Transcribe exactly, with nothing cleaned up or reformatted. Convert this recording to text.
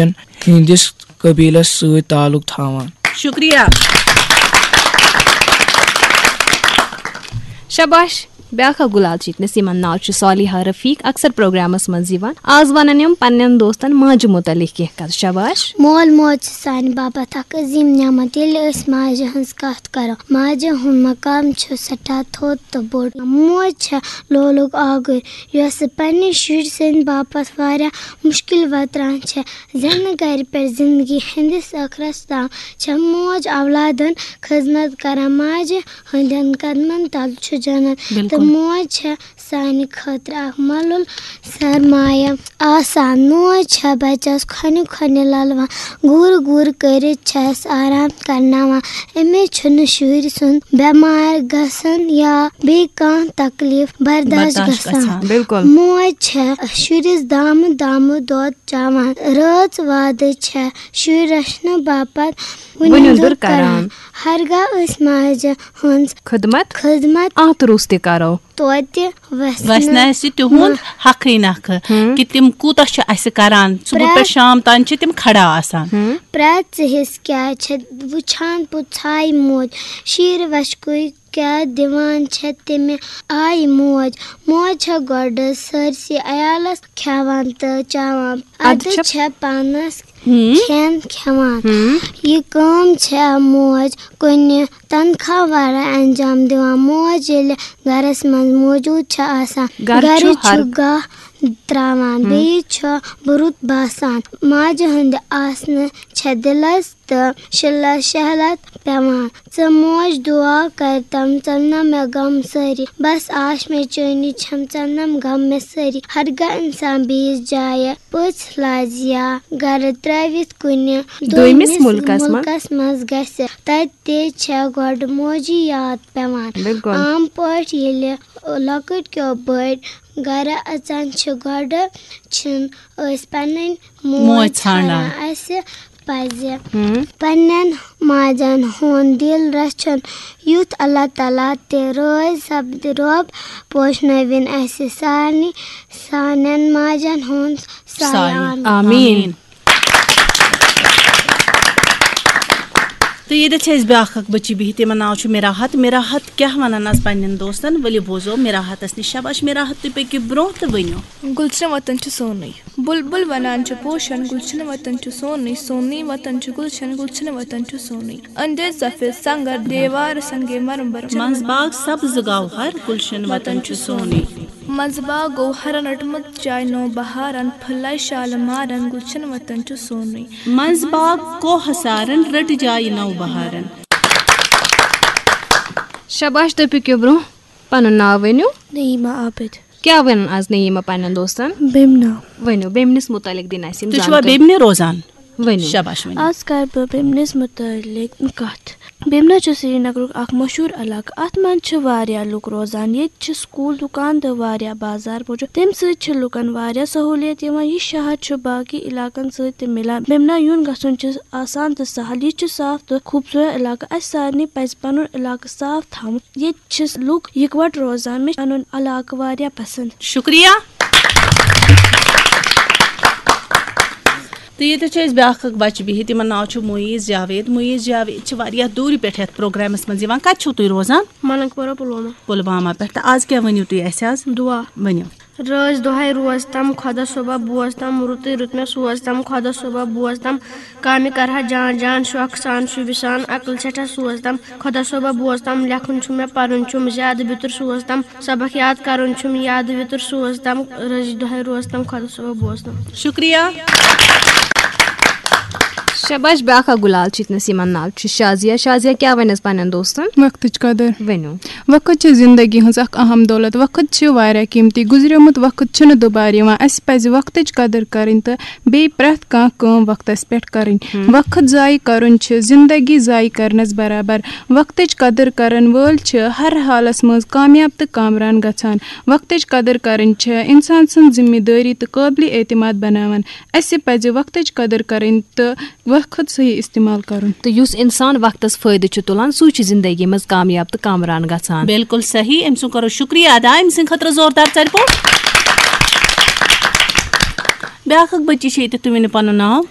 ہٕنٛدِس قبیلس سۭتۍ تعلق تھاوان۔ شُکریہ۔ شاباش۔ بیٛاکھ اکھ گُلال چھِتنَس، یِمن ناو چھُ صالحہ رفیق، اکثر پروگرامس منٛز یِوان۔ آز ونن یِم پننٮ۪ن دوستن ماجہِ متعلق کینٛہہ کتھ۔ شاباش۔ مول موج چھِ سانہِ باپتھ اکھ عظیٖم نعمت۔ ییٚلہِ أسۍ ماجہِ ہٕنٛز کتھ کرو، ماجہِ ہُنٛد مقام چھُ سٮ۪ٹھاہ تھوٚد تہٕ بوٚڑ۔ موج چھےٚ لولُک آگُر، یۄسہٕ پننہِ شُرۍ سٕنٛدِ باپتھ واریاہ مُشکِل وتران چھےٚ۔ زینہٕ گرِ پٮ۪ٹھ زندگی ہٕنٛدِس ٲخرس تام چھےٚ موج اولادن خدمت کران۔ ماجہِ ہٕنٛدٮ۪ن قدمن تل چھُ جنت، بِلکُل۔ تہٕ موج چھےٚ سانہِ خٲطرٕ اکھ مۄلُل سرمایہ آسان۔ موج چھےٚ بچس کھۄنہِ کھۄنہِ للوان، گوٗر گوٗر کٔرِتھ چھس آرام کرناوان۔ أمِس چھُنہٕ شُرۍ سُنٛد بٮ۪مار گژھن یا بیٚیہِ کانٛہہ تکلیف برداشت برداشت گژھان۔ گژھان، بِلکُل۔ موج چھےٚ شُرِس دامہٕ دامہٕ دۄد چاوان، رٲژ وادٕ چھےٚ شُرۍ رچھنہٕ باپتھ وُنِنٛدُر وُنِنٛدُر کران۔ کران۔ ہرگاہ أسۍ ماجہِ ہٕنٛز خدمت خدمت اتھ روٚس تہِ کرو۔ توتہِ وژھِ وژھِ نہٕ نہٕ اَسہِ تِہُنٛد مہ- حقٕے نکھٕ ہم۔ کہِ تِم کوٗتاہ چھِ اَسہِ کران۔ صبح پرٛٮ۪تھ پٮ۪ٹھ شام تام چھِ تِم کھڑا آسان۔ ہم۔ پرٛٮ۪تھ ژٕ حِصہٕ کیٛاہ چھِ وٕچھان، پوٚژھاے موج شیٖر وَچھکُے کیٛاہ دِوان چھےٚ تٔمہِ آیہِ موج۔ موج چھےٚ گۄڈٕ سٲرسٕے عیالَس کھٮ۪وان تہٕ چاوان۔ اَدٕ اَدٕ چھےٚ چھےٚ پانَس ہم۔ کھٮ۪ن کھٮ۪وان۔ ہم۔ یہِ کٲم چھےٚ موج کُنہِ تنخواہ ورٲے انجام دِوان۔ موج ییٚلہِ گرس منٛز موجود چھےٚ آسان، گرٕ گرٕ چھُ چھُ ہر گاہ تراوان، ہم۔ بیٚیہِ چھُ بُرُت باسان۔ ماجہِ ہٕنٛدِ آسنہٕ چھےٚ دِلس تہٕ شِلس شہلت پٮ۪وان۔ ژٕ موج دُعا کر تم، ژم نہ مےٚ غم سٲری۔ بس آش مےٚ چٲنی چھم، ژم نم غم مےٚ سٲری۔ ہرگاہ انسان بیٚیِس جایہِ پٔژھۍ لاز یا گرٕ ترٲوِتھ کُنہِ دوٚیمِس دوٚیمِس مُلکس منٛز۔ مُلکس منٛز گژھِ، تتہِ تہِ چھےٚ گۄڈٕ موجی یاد پٮ۪وان۔ بِلکُل۔ عام پٲٹھۍ ییٚلہِ لۄکٕٹۍ کیو بٔڑۍ گرٕ اژان چھِ، گۄڈٕ چھِنہٕ أسۍ پنٕنۍ موج موج ژھانڈان۔ ژھانڈان۔ اسہِ پزِ ہم۔ پننٮ۪ن ماجن ہُنٛد دِل رچھُن، یُتھ اللہ تعالیٰ تہِ رٲضۍ سپدِ۔ رۄب پوشنٲوِن اسہِ سارنٕے سانٮ۪ن ماجن ہُنٛد سایہِ۔ سایہِ۔ آمین۔ آمین۔ تہٕ ییٚتٮ۪تھ چھِ اَسہِ بیٛاکھ اَکھ بٔچی بِہِتھ، یِمَن ناو چھُ مِراحت۔ مِراحت کیٛاہ وَنان آز پنٛنٮ۪ن دوستَن؟ ؤلِو بوزو مِراحتَس نِش۔ شاباش مِراحت، تُہۍ پٔکِو برٛونٛہہ تہٕ ؤنِو۔ گُلشن وطن چھُ سونُے۔ بُلبُل وَنان چھُ پوشَن، گُلشن وطن چھُ سونُے، سونُے وطن چھُ گُلشن، گُلشن وطن چھُ سونُے۔ أنٛدرۍ سفید سنٛگر، دیوار سنٛگے مرمر۔ منٛز باغ سبز گوہر، گُلشن وطن چھُ سونُے۔ منٛزٕ باغ گوٚو ہرن رٔٹمٕژ جاے نو بہارن، پھٕلے شالہٕ مارن، گُلشن وطن چھُ سونُے۔ منٛزٕ باغ کوہ سارن، رٔٹ جاے نو بہارن۔ شاباش، تُہۍ پٔکِو برٛونٛہہ، پنُن ناو ؤنِو۔ نعیمہ عابد۔ کیٛاہ وَنان آز نعیمہ پننٮ۪ن دوستن؟ بیمنا۔ ؤنِو، بیمنِس مُتعلِق دِن اَسہِ یِم تُہۍ چھِوا زانکٲری۔ بیمنہِ روزان؟ ؤنِو۔ شاباش، ؤنِو۔ آز کَرٕ بہٕ بیمنِس مُتعلِق کَتھ۔ بیمنا چھُ سرینگرُک اکھ مشہوٗر علاقہٕ۔ اَتھ منٛز چھِ واریاہ لُکھ روزان۔ ییٚتہِ چھِ سکوٗل، دُکان تہٕ واریاہ بازار موٗجوٗد۔ تَمہِ سۭتۍ چھِ لُکَن واریاہ سہوٗلیت یِوان۔ یہِ شہر چھُ باقٕے علاقَن سۭتۍ تہِ مِلان۔ بیمنا یُن گژھُن چھُ آسان تہٕ سہل۔ یہِ چھُ صاف تہٕ خوٗبصوٗرت علاقہٕ۔ اَسہِ سارنٕے پَزِ پَنُن علاقہٕ صاف تھاوُن۔ ییٚتہِ چھِ لُکھ یِکوَٹہٕ روزان۔ مےٚ چھُ پَنُن علاقہٕ واریاہ پَسنٛد۔ شُکریہ۔ تہٕ ییٚتہِ چھِ أسۍ بیٛاکھ اَکھ بَچہٕ بِہِتھ، یِمَن ناو چھُ معیٖز جاوید۔ معیٖز جاوید چھِ واریاہ دوٗرِ پٮ۪ٹھ یَتھ پروگرامَس منٛز یِوان۔ کَتہِ چھِو تُہۍ روزان؟ ملنگ پورہ، پلوامہ۔ پُلوامہ پٮ۪ٹھ۔ تہٕ آز کیٛاہ ؤنِو تُہۍ اَسہِ آز؟ دُعا۔ ؤنِو۔ رٲژ دۄہَے روز تم، خۄدا صٲبا بوز تم، رُتُے رُت مےٚ سوز تم، خۄدا صٲبا بوز تم۔ کامہِ کرٕ ہا جان جان، شوقہٕ سان شوٗبہِ سان، عقل سٮ۪ٹھاہ سوز تم۔ خۄدا صٲبا بوز تم، لیکھُن چھُم مےٚ پرُن چھُم، زیادٕ بیتُر سوز تم۔ سبق یاد کرُن چھُم، یادٕ ویتُر سوز تم۔ رٔزِ دۄہے روز تم، خۄدا صٲبا بوز تم۔ شُکریہ۔ شاباش، بیٛاکھ اکھ گُلال چھِ ییٚتنَس، یِمن ناو چھُ شازیہ۔ شازیہ، کیٛاہ وَنٮ۪س پننٮ۪ن دوستن؟ وقتٕچ قدر۔ ؤنِو۔ وقت چھِ زندگی ہٕنٛز اکھ اہم دولت۔ وقت چھِ واریاہ قیمتی۔ گُزریومُت وقت چھُنہٕ دُبارٕ یِوان۔ اَسہِ پَزِ وقتٕچ قدر کَرٕنۍ تہٕ بیٚیہِ پرٛٮ۪تھ کانٛہہ کٲم وقتس پٮ۪ٹھ کرٕنۍ۔ ہم۔ وقت ضایع کرُن چھُ زندگی ضایع کرنس برابر۔ وقتٕچ قدر کرن وٲلۍ چھِ ہر حالس منٛز کامیاب تہٕ کامران گژھان۔ وقتٕچ قدر کرٕنۍ چھِ انسان سٕنٛز ذمہ دٲری تہٕ قٲبلِ اعتماد بناوان۔ اسہِ پزِ وقتٕچ قدر کرٕنۍ تہٕ وقت صحیح استعمال کرُن۔ تہٕ یُس انسان وقتس فٲیدٕ چھُ تُلان، سُے چھُ زندگی منٛز کامیاب تہٕ کامران گژھان۔ بالکل صحیح۔ أمۍ سُنٛد کرو شُکریہ ادا، أمۍ سٕنٛدِ خٲطرٕ زوردار ژَرِ پوٚٹ۔ بیٛاکھ اکھ بٔچی چھِ ییٚتہِ، تُہۍ ؤنِو پنُن ناو۔